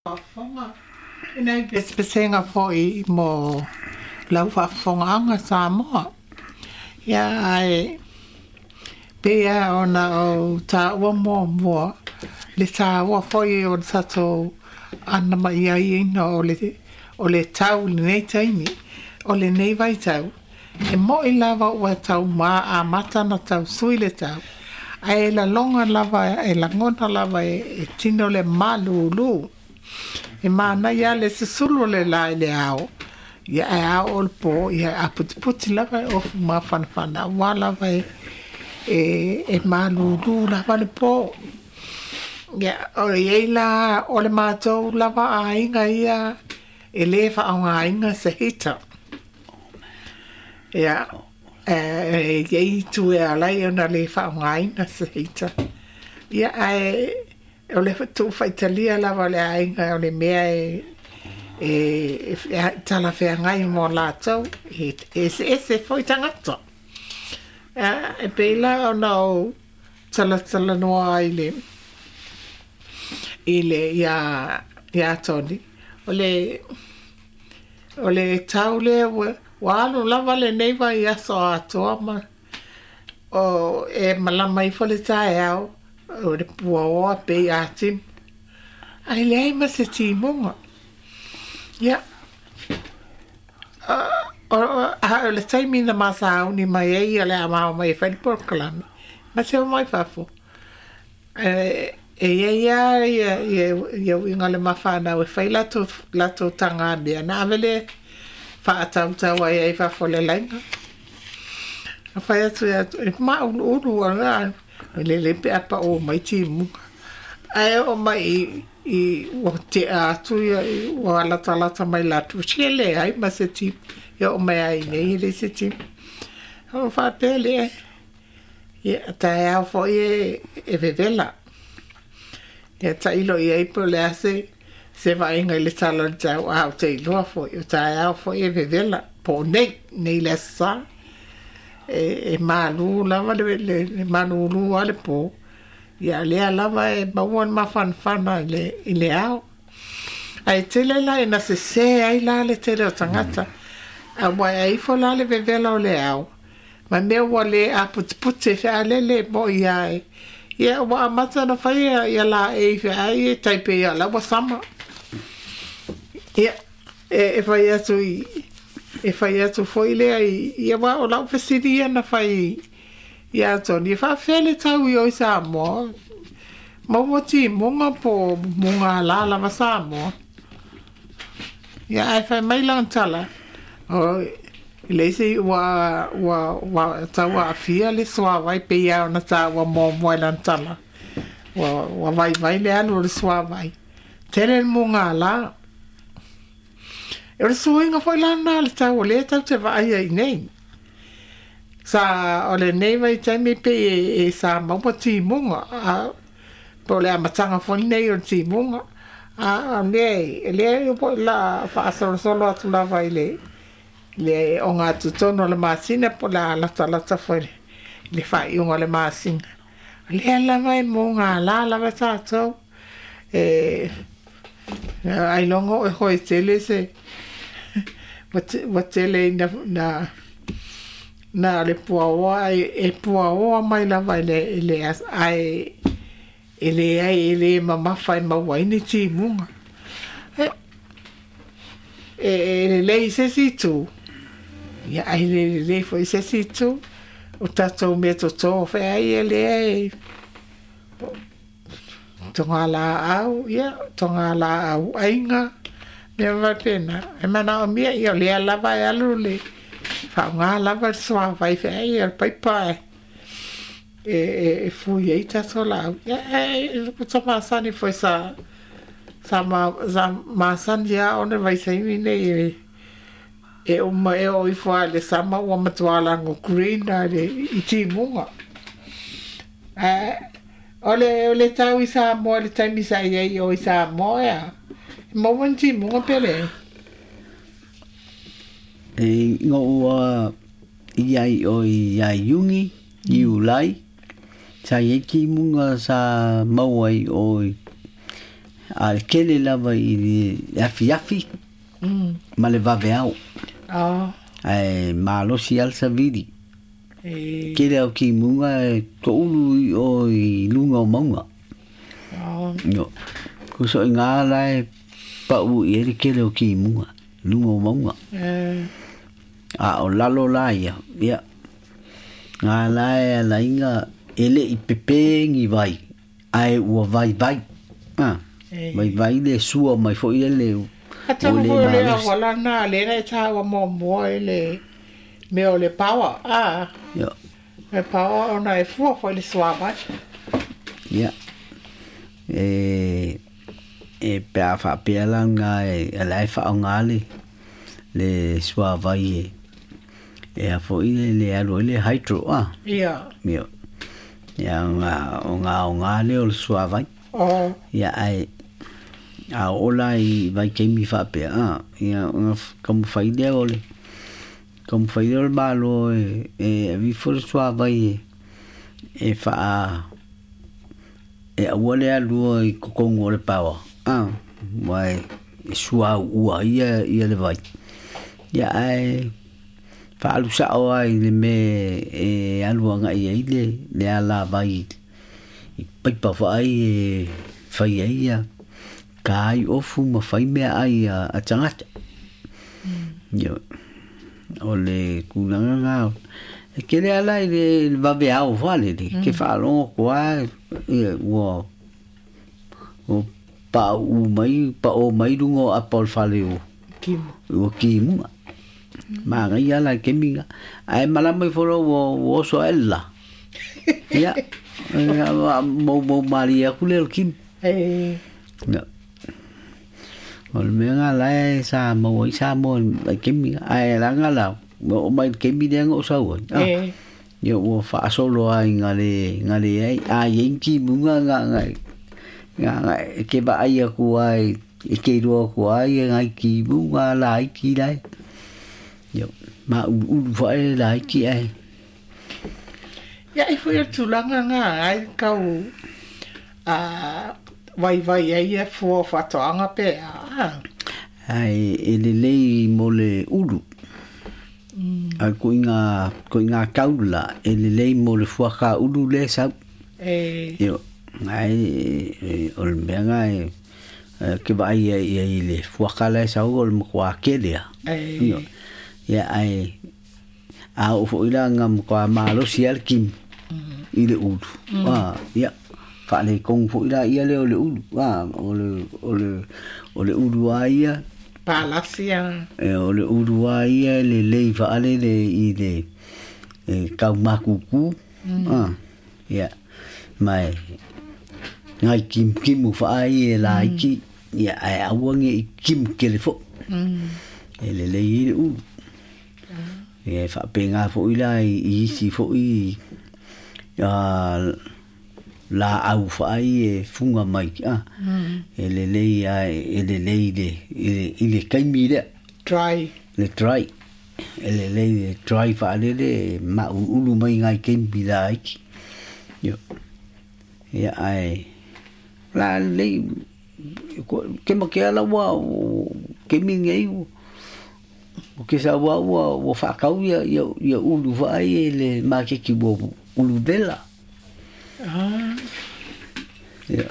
Faafofoga. E nai pesepesega foi mo lau faafofogaaga Samoa. Ia ae pei lava ona ou taua muamua le taua foi o le tatou anamaiaina o le o le tau i lenei taimi, o lenei vaitau. E mo'i lava ua tau amata ona tau sui le tau, ae lagona lava e tino le malulu. E manaia lava le susulu o le la i le ao, ia ae a oo i le po, ia e aputiputi lava e ofu mafanafana aua lava e malulu lava le po. Ia, o i ai la o le matou lava aiga ia e le faaaogaina se heater. Ia, e i ai itu e ala ai ona le faaaogaina se heater. Ia, ae o le tuufaitalia lava o le aiga o le mea e talafeagai mo latou, e eseese foi tagata. E pei la ona ou talatalanoa ai i le ia Tony, o le tau lea ua alu lava lenei vaiaso atoa ma o e malama ifo le taeao, o le puaoa pei a timu, ae leai ma se timuga. Ia, o le taimi na ma sauni mai ai o le a ma omai e fai le polokalame, ma te omai fafo. E i ai lava ia uiga o le ma fanau e fai latou tagamea ona ave lea faatautau ai i fafo i le laina. Na fai atu e mauluulu e lelei pe a pau mai timuga. Ae oo mai i ua tea atu ua latalata mai latou, se leai ma se timu. E oo mai lava i inei e leai se timu. Ona ou faapea lea, ia taeao foi e vevela. Ia tailo i ai po o le a se vaaiga i le tala o le tau, a ou te iloa foi, o taeao foi e vevela, po o nei, nei i le Aso Sa. E malu lava le malulu lava le po, ia o lea lava e maua le mafanafana i le ao. Ae tele la ina sese ai la le tele o tagata, aua e ifo la le vevela o le ao, ma mea ua le aputiputi e fealele mo'i lava. Ia ua amata ona fai ia laei feai e tai pei o la ua sama. Ia, e fai atu e fai atu foi lea ia aua o lau fesili ia na fai ia Tony, e faafefea le tau i o i Samoa? Maua timuga po o mugala lava Samoa? Ia ae fai mai lana tala, e leai se ua tau aafia le suavai pei lava ona taua muamua i lana tala. Ua vaivai le alu o le suavai. Tele le mugala. O le suiga foi la lena o le tau o lea tatou te vaai ai nei. Sa o lenei vaitaimi pei e sa maua timuga, po o le amataga foi lenei o le timuga. A o lea o le a faasolosolo atu lava i le ogatotonu o le masina po o le a latalata foi i le faaiuga o le masina. O lea lava e mugala lava tatou. Ailoga o oe tele se ua tele ina na o le puaoa e puaoa mai lava i le ae e leai e le mamafa e maua ai ni timuga. E lelei i se isi itu, ia ae le lelei foi i se isi itu. O tatou meatoto feai e lea e togalaau, ia togalaau aiga, mea faapena. E manaomia, ia o lea lava e alu le faaaoga lava le suavai feai o le paipa e fui ai tatou laau. Ia ua ta masani foi sa masani lava ona vaitaimi nei e uma e oo ifo lava i le sama ua matua lago green lava i timuga. O le tau i Samoa i le taimi sa i ai i o i Samoa e a? E maua ni timuga pe leai? E ua i ai o ia Iuni, Iulai, sa i ai timuga sa maua ai o A le tele lava i le afiafi ma le vaveao. Ae malosi lava le savili. Tele lava o timuga e toulu i o i luga o mauga. Ioe. Tusa o i ina la e pau i ai le tele o timuga, luga o mauga. A o lalo la ia, ia, na la e ala ai ona e le i pepe ni vai, ae ua vaivai, a, vaivai le sua mai foi le ua Atonu le foi o le malosi. auala lena lea na e taua muamua i le mea o le power, a, le power ona e fua foi i le suavai. Ia, e, e pe a faapea la lena e, la e faaaoga le, le suavai e, e a foi le, le alu ai le hydro, a. Ia. Ia, ia ona, ona aoga lea o le suavai. Ia, ae a oo la i vaitaimi faapea, a, ia ona taumafai lea o le taumafai lea o le Malo e, e ave ifo le suavai e, e faa e aua le alua i totonu o le paoa, a, aua e suauu ai ia, ia le vai. Ia ae faaalu sao lava i le mea e alu agai ai le, le alavai i paipa faai e fai ai ia ta ai ofu ma fai meaai a tagata. Ioe. O le tulaga lena, e tele lava la i le vaveao faalele, ke faalogo atu lava ia ua pauu mai, pao mai luga o apa o le fale o ua timuga. Manaia la i le taimi lena. Ae malama ifo loa ua oso ae le la. Ia, moumou malie atu lea o le timu. Ia. O le mea lena la e sa maua ai Samoa i le vaitaimi lena. Ae leaga la, ua oo mai i le taimi lea na ou sau ai, ia ua faasolo lava ina le leai. A i ai ni timuga na e te vaai atu lava e te iloa atu lava ia nai timuga laiti la e. Ia, mauluulu foi laiti ae. Ia, ai foi o le tulaga lena ai tau vaivai ai ia fua o faatoaga pe a. Ae e lelei mo le ulu. Ae koiga tau la e lelei mo le fuaka ulu lea e sau. Ioe. Ae o le mea lena e ke vaai ai i le fuaka la e sau o le matua tele lava. Ioe. Ia ae a oo foi la ina matua malosi lava le timu i le ulu. Ia faaletonu foi la ia lea o le ulu. O le ulu lava ia. Palasi a. O le ulu lava ia e lelei faalele i le taumatutu. Ia ma e nai timutimu faai e laiti. Ia ae aua ne i timu tele foi. E lelei ai le ulu. Ia e faapena foi la i isi foi laau faai e fuga mai, e lelei lava e lelei i le taimi lea. Dry. Le dry. E lelei le dry faalele e mauluulu mai nai taimi laiti. Ia, ia ae la lelei ke ma ke ala ua taimi lenei o ke sau lava ua faatau ia ia ulu faai e le maketi ua ulu vela. Ia.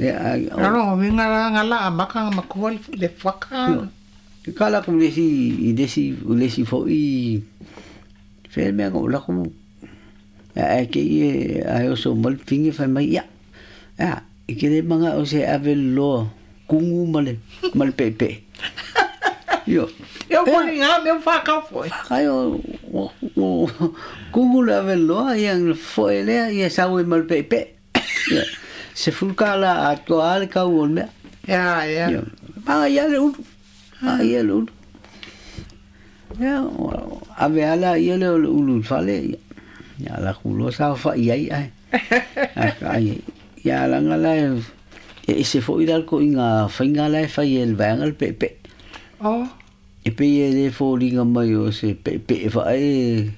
Ia ai O lona uiga la na la amata ona matua le fuaka. Ia. Ka lako i le isi i le isi i le isi foi fea le mea na ou lako ae te i ae oso mai le fine fai mai, ia, a, e te le manao se ave le loa kugu ma le ma le peepee. Ioe. Ia ua foliga mea ua faatau foi. Ai o kugu le ave loa ia na foe lea ia sau ai ma le peepee. Ia, $10 atoa lava le tau o le mea. Ia, ia. Ia, manaia le ulu. Manaia le ulu. Ia, ave lava laia lea o le ulu i le fale, ia, ia alu atu loa saofai ai ae. Ai, ia leaga la e ese foi la le ituaiga faiga la e fai e le vaega le peepee. E pei e le foliga mai o se peepee faae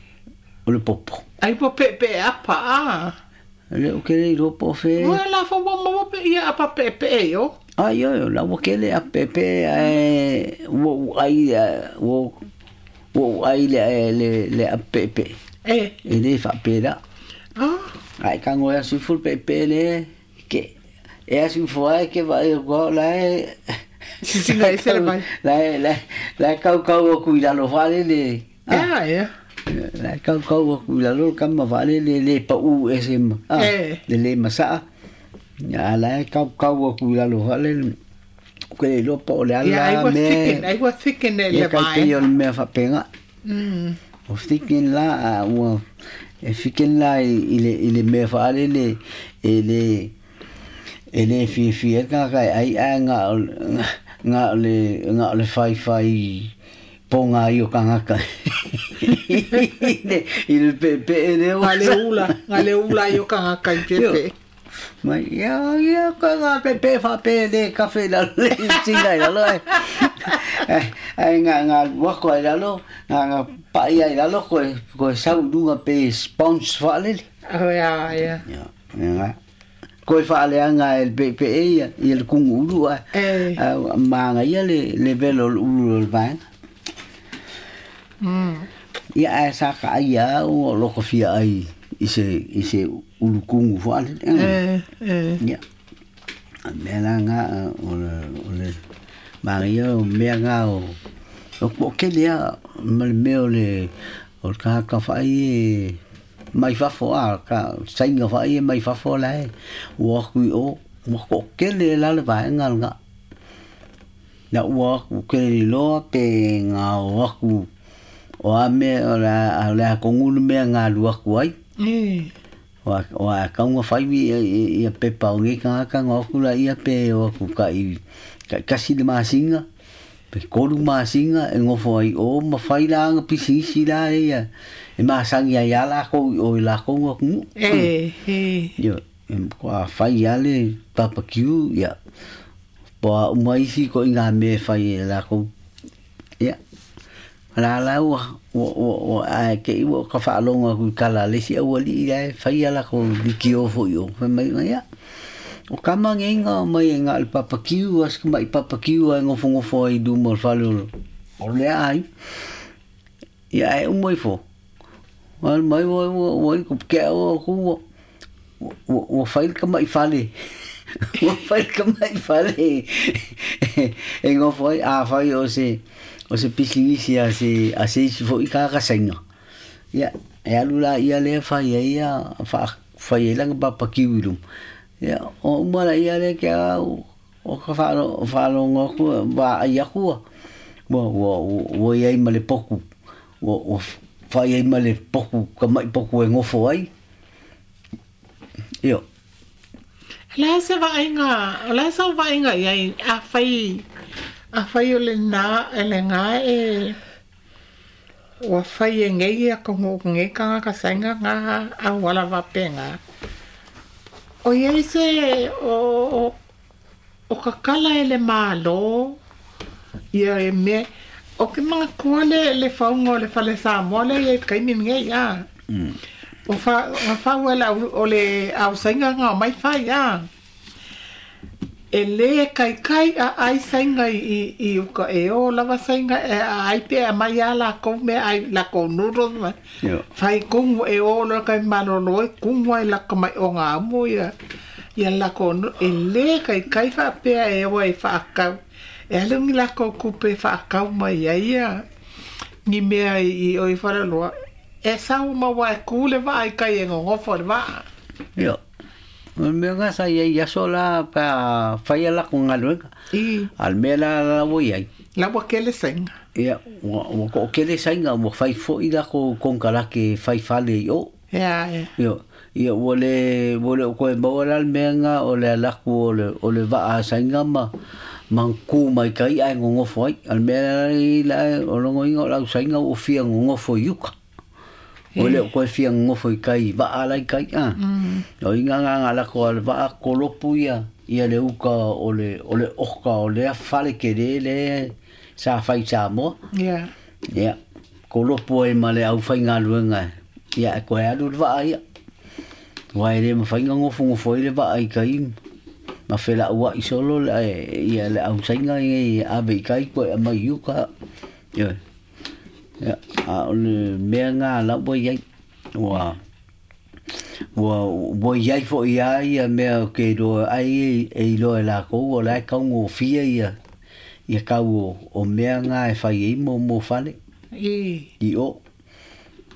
o le popo. Ai ua peepee apa a. Le o kele i ropo fe. Ua la fo mo mo pe ia apa pe pe e yo. Ai yo la ua kele a pe pe e ua ai ua ua ai le le le a pe pe. E. E le fa pe la. Ah. Ai ka ngoe si fu pe pe le ke e asi fo ai ke va e go la e. Sisinga e se vai. La la la kau kau o kui lalo fale le. Ya ya. La kau kau o kui lalo kama fale le le pa u e se ma. Le le masa. Ya la kau kau o kui lalo fale. Ko le lo pa o le ala me. I was thinking le vai. Kai o me fa penga. O thinking la o e fiken la i le me fale le e le e le fi fi e ka kai ai a nga nga le nga le fai fai ponga i o kangaka i le pe pe le o nga le ula i o kangaka i pe pe mai ia ia ka nga pe pe fa pe le kafe la le singa la lo ai nga nga wako ai la lo nga nga pa ia la lo ko ko sau dunga pe sponge fa le oh ya ya ya ko fa le anga el pe pe ia i el kungu ulu a manga ia le le velo ulu le van ia a sa ka ia o lo ko fia ai i se ulu kungu fa le ia me la nga o le manga ia o me nga o o ke le ma le me o le o ka ka fa ai mai fafo a ka sainga fa ai mai fafo la e ua kui o ua ko kele la le vaenga nga na ua ku kele loa pe nga o aku o a me o la o la kongulu me nga lua ku ai o a kaunga fai ia pepa o nge ka ka nga ku la ia pe o ku ka i kasi le masinga pe kolu masinga e ngofo ai o ma fai la nga pisisi la ia e masangi ai ala ko o la ko ku yo em ko a fai ale barbecue ia po mai si ko inga me fai la ko ia la la o o a ke o ka fa longa ku kala le si o li ia fai ala ko likio fo yo mai ia o kama ngenga mai nga al barbecue as mai barbecue ai ngofo ngofo ai du mo falo o le ai ia e umoi fo Al mai o o ko ke o ku o fai ka mai fale. O fai ka mai fale. E ngo foi a fai o se pisinisi a se fo i ka ka senga. Ia e alu la ia le fai ia fa fai la ba pa kiwilu. Ia o mala ia le ke o ka fa lo fa lo ngo ku ba ia ku. Wo wo wo ia i male poku. Wo fai ai male poku ka mai poku e ngofo ai. Io. La se vainga, la se vainga ia a fai o le na ele nga e o fai e ngai ko ngai ka ka senga nga a wala va penga. O ia se o o ka kala ele malo ia e me o ke mga kole le faunga le fale Samoa le e kai min ngai ia. O fa fa wala o le au sainga nga mai fa ia. E le kai kai a ai sainga i uka e o lava sainga e ai pe a mai ala ko me ai la ko nuro ma. Fai kongu e o lo kai malolo e kungu ai la ko mai o nga mo ia. Ia la ko e le kai kai fa pe e o e fa ka. E alungi la ko kupe fa kau mai ia ia. Ni mea i o i wharaloa. E sau maua e kule va ai kai e ngongofo le va. Io. O mea nga sa ia ia sola pa whai ala ko ngaluenga. I. Al mea la la wo iai. La wa kele sainga. Ia, wa ko kele sainga wa whai fo i la ko konkalake whai whale i o. Ia, ia. Io. Ia, ua le o koe maua la mea nga o le alaku o le waa sainga ma man ku mai kai ai ngongofo ai. Al mea la o longo inga o lau sainga o fia ngongofo i uka. O le koe fia ngongofo i kai waa lai kai a. O inga nga nga lako al waa kolopu ia ia le uka o le oka o le fale ke le le sa whai Samoa. Ia. Ia. Kolopu ai ma le au whai ngā luenga. Ia koe alu le waa ia. Aua e le mafai ona gofogofoai le vaa i tai ma felaua'i solo le ia le ausaiga e ave i tai toe aumai i uka. Ioe. Ia, a o le mea lena la ua i ai, ua ua i ai foi lava ia mea ou te iloa ai e iloa e latou o la e taugofie ia ia tau o mea na e fai ai mo fale i o.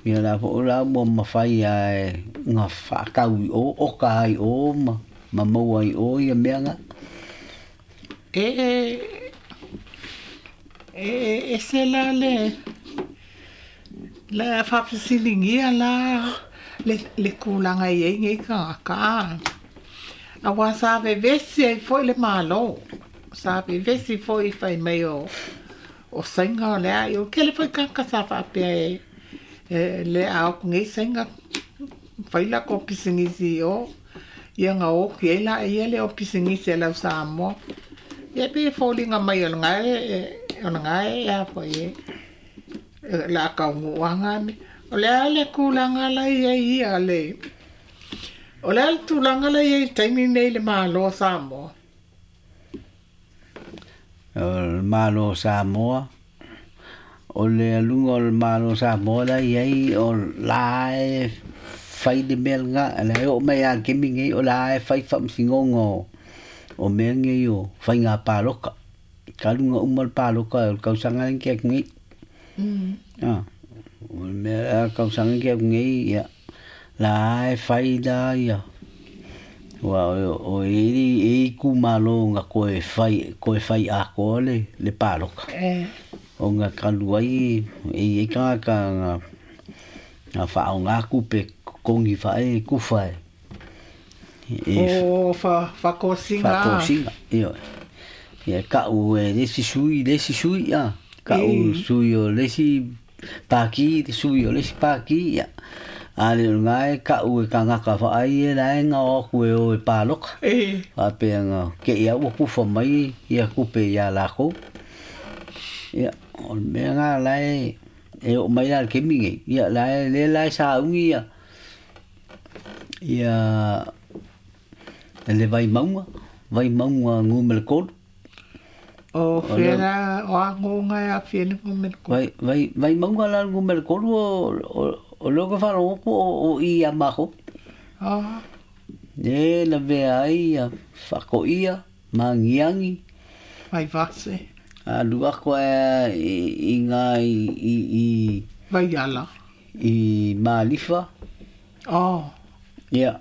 Ia la foi la ua mafai lava e ona faatau i o, oka ai i o ma maua ai i o ia mea na. E ese la le le faafesiligia la le tulaga e i ai nei tagata. Aua sa vevesi ai foi le Malo, sa vevesi foi fai mai o Saina o le a, o le tele foi tagata sa faapea e le a o atu nei Saina fai latou pisinisi i o, ia ona oti ai laia lea o pisinisi a le au Samoa. Ia pei e foliga mai o lena e a foi e o le a taunuu lava na mea. O le a le tulaga la e i ai ia le... O le a le tulaga la e i ai i le taimi lenei i le Malo o Samoa? O le Malo o Samoa, o le aluga o le Malo o Samoa la e i ai, o la e fai le mea lena, la e oo mai lava i le taimi lenei, o la e fai faamasinoga o mea nei o faiga paloka. Talu ona uma le paloka o le tausaga lea na tea atu nei. O le mea la tausaga na tea atu nei, ia, la e fai la ia, aua o e i ai itumalo na toe fai atoa le paloka. Ona talu ai e i ai tagata na faaaoga tupe totogi faae tufa e O faatosina. Faatosina, ioe. Ia tau e le isi sui, le isi sui, a. Tau sui o le isi pātī, le sui o le isi pātī, ia. A le o lena e tau e tagata faai e la e gao atu e o e paloka. Faapea na te i lava ua tufa mai ia tupe ia latou. Ia, o le mea lena la e oo mai la i le taimi lenei, ia la e lea la e sauni ia ia le Vaimauga, Vaimauga numera 3. O fea la, o a agoga e aafia ai le numera 3? Vaimauga la le numera 3 o lea ou te faalogo atu o i ia matou. E lavea ai ia Faatoia ma Agiagi. Vaivase. Alu atu ai i ina i Vaiala. I Malifa. Ia.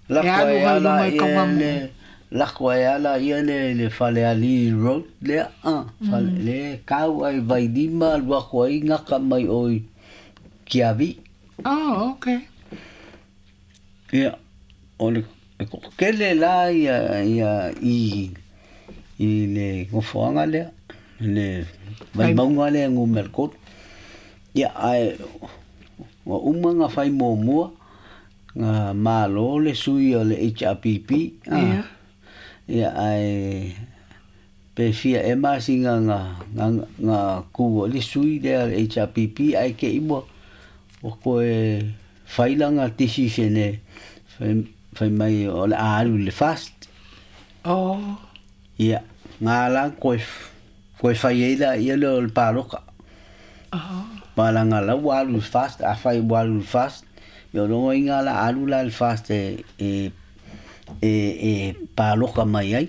E alu mai luga i Kauamu. Lako ai ala ia le Falealili Road lea, fale, le kau ai Vailima alu atu ai gata mai o i Tiavi. Oh, okay. Ia, o le toatele la ia ia i i le nofoaga lea, le Vaimauga lea numera 3. Ia, ae ua uma ona fai muamua na malo le sui o le HRPP. Ia. Ia, ae pe fia ea masina na tu ai le sui lea o le HRPP, ae te i ua toe fai lana decision e fai mai o le a alu i le FAST. Ia, na la toe fai ai laia lea o le paloka. Leaga la ua alu i le FAST, afai ua alu i le FAST, ia o lona uiga la alu la i le FAST e paloka mai ai.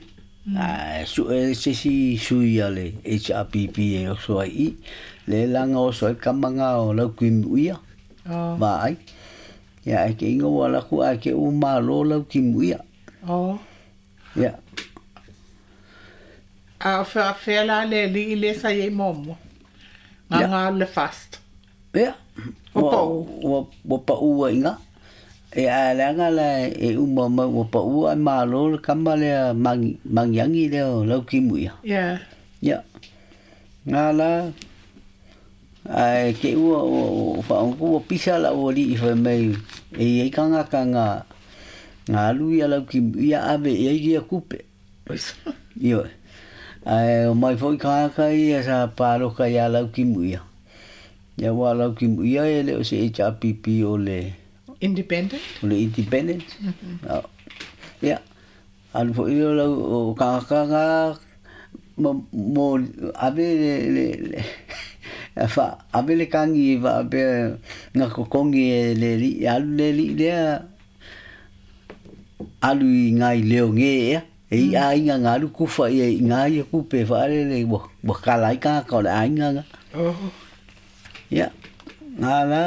Ae sue se isi sui a le HRPP e oso ai i i. Lea la na oso ai le tama lena o Laukimuia, vaai. Ia ae te iga ua alu atu ae te i ua malo Laukimuia. Ia. A o faapefea la le alii lea sa i ai muamua? Na na alu i le FAST. Ia. Ua pau. Ua pau ai i ina. Ia ae leaga la e uma mai ua pau ae malo le tama lea Magiagi lea o Laukimuia. Ia. Ia. Na la ae te i ua faaogo ua pisa lau alii fai mai e i ai tagata na alu ia Laukimuia ave i ai ia tupe. Ioe. Ae omai foi tagata ia sa paloka ia Laukimuia. Ia aua o Laukimuia e le o se HRPP o le Independent. O le independent. Ia, alu fo'i lea o lau o tagata na ma mo ave le fa ave le kagi faapea na totogi e le alii alu le alii lea alu i nai leoge ea e i aiga na alu kufa ia i ngā ia kupe faalele ua kala ai tagata o le aiga na. Ia, ngā la,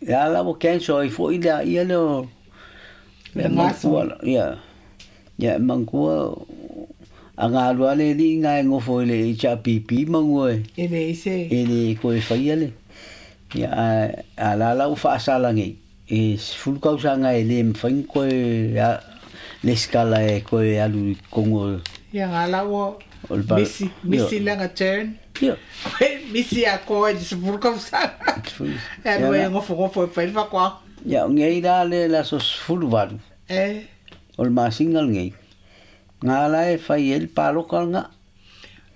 ia la ua cancel ai fo'i le ia lea o le manatua, ia, ia e manatua a galue lava le alii na e nofo i le HRPP manu e E leai se. E le toe faia le, ia ae a la la ua faasala nei e 10 tausaga e le mafai ona toe lesitala e toe alu i totonu o Ia nga la ua misi, misi lana turn. Ia. Misi atoa i le 10 tausaga. E alu ai e nofonofo e fai le faatoaga. Ia, o nei la le aso 18. E. O le masina lenei. Nga la e fai ai le paloka lena.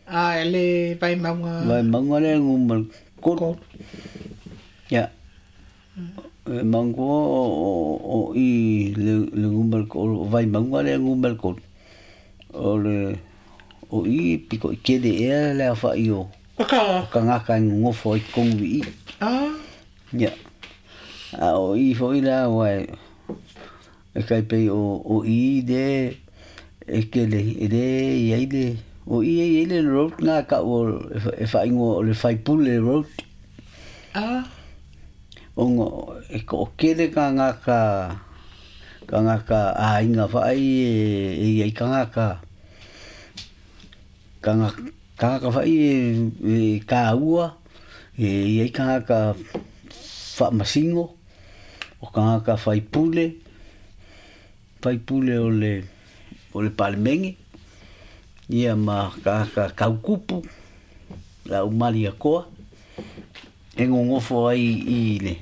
A, e le Vaimauga. Vaimauga lea numera 3. Ia. E manatua o i le numera o Vaimauga lea numera 3. O le o i pito i tele ea le aofai o tagata e nonofo ai i totonu i i. Ia. A o i foi la aua e tai pei o i le e tele e le i ai le o i e i ai le road na tau o e faaigoa o le Faipule Road. Ona e toatele tagata tagata aiga faai e i ai tagata tagata faai e taua e i ai tagata faamasino o tagata faipule faipule o le o le Palemene ia ma tagata tautupu le au maliatoa e nonofo ai i le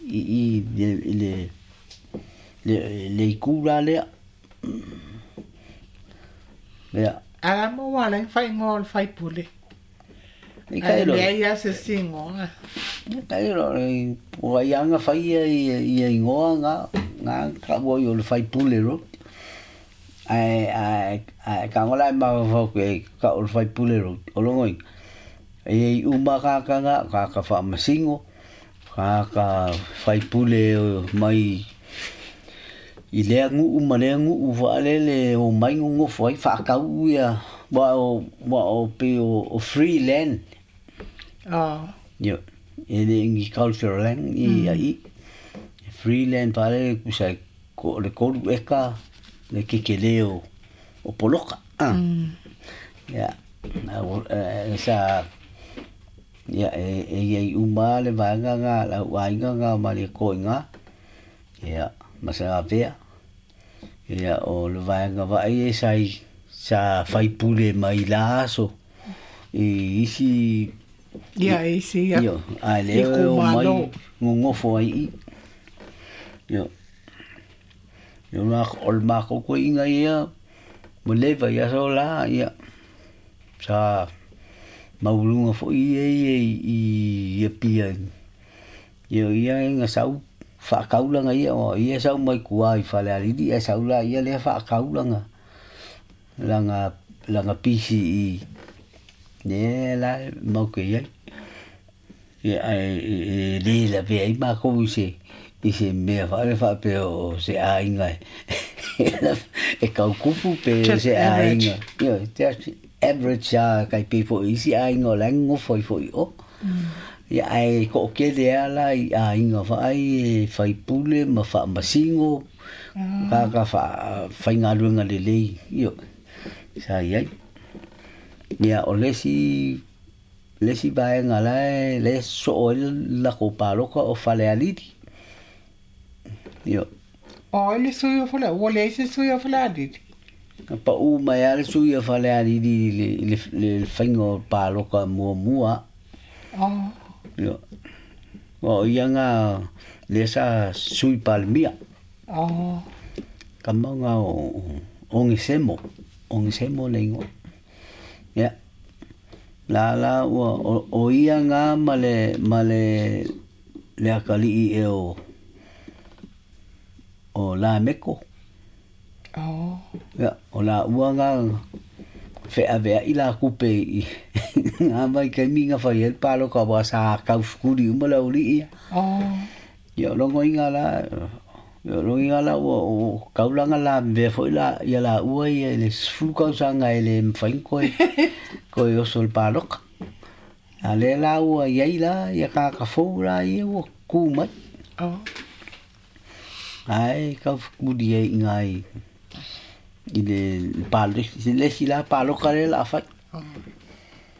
i i le le le itu la lea. Ia. A mo ua ala ai faaigoa o le faipule. Ae leai lava se isi igoa. E kai loa o ai lava na fai ia igoa na na taua ai o le faipule road. Ae ae ae tago la e mafaufau pea tau o le faipule road. O lona uiga, e i ai uma tagata na, tagata faamasino, tagata faipule mai i lea nuu ma lea nuu faalele e omai nonofo ai faatau ia aua o pei o free land. Ioe, e le o ni cultural land ia i i. E free land faalele tusa o le 3 eka le kekelē o poloka. Ia, sa ia e i ai uma lava le vaega lena le au aiga lena o Malietoa i ina, ia ma Salavea. Ia o le vaega vaai e sa sa faipule mai la aso i isi Ia isi ia ae lea e omai nonofo ai i i. Ioe. O le matou toeaina ia ua leva i aso la ia sa maualuga foi ia ia i Apia ia o ia na sau faatau lana ia aua o ia e sau mai tua i Falealili ae sau la ia lea faatau lana lana lana pisi i lea la matou te i ai. Ia ae e le lavea ai matou i se i se mea faale faapea o se aiga e tautupu pe Just se average. aiga. Ioe, just average lava tai pei foi i isi aiga o la e nonofo ai foi i o. Ia ae toatele lava la i aiga vaai e faipule ma faamasino, tagata faafaigaluega lelei, ioe, sa i ai. Ia o le isi le isi vaega la e la e sosoo ai le latou palota o Falealili. Ioe. O ai le sui o Falealili? Ua leai se sui o Falealili? Na pau mai lava le sui o Falealili i le i le le faiga o palota muamua. Ioe. Aua o ia na lea sa sui Palemia. Tama na o Onesemo, Onesemo le igoa. Ia. La la ua o ia na ma le ma le le atalii ea o o Lameko. Oh. Ia, o laua ga feaveaʻi la kupe i ga vaikaimi ga fai ai le paloka ua sa taufukuli uma le auliʻi ia. Oh. Ia o logoiga la ia o logoiga la ua o taulaga lavevea foʻi la ia laua ia i le 10 tausaga e lē mafai ona toe toe oso i le paloka. A lea la ua iai la ia tagata fou la ia ua tu mai. Oh. Ae taufekuli ai iga i i le palo le isi la paloka lea o le a fai. Oh.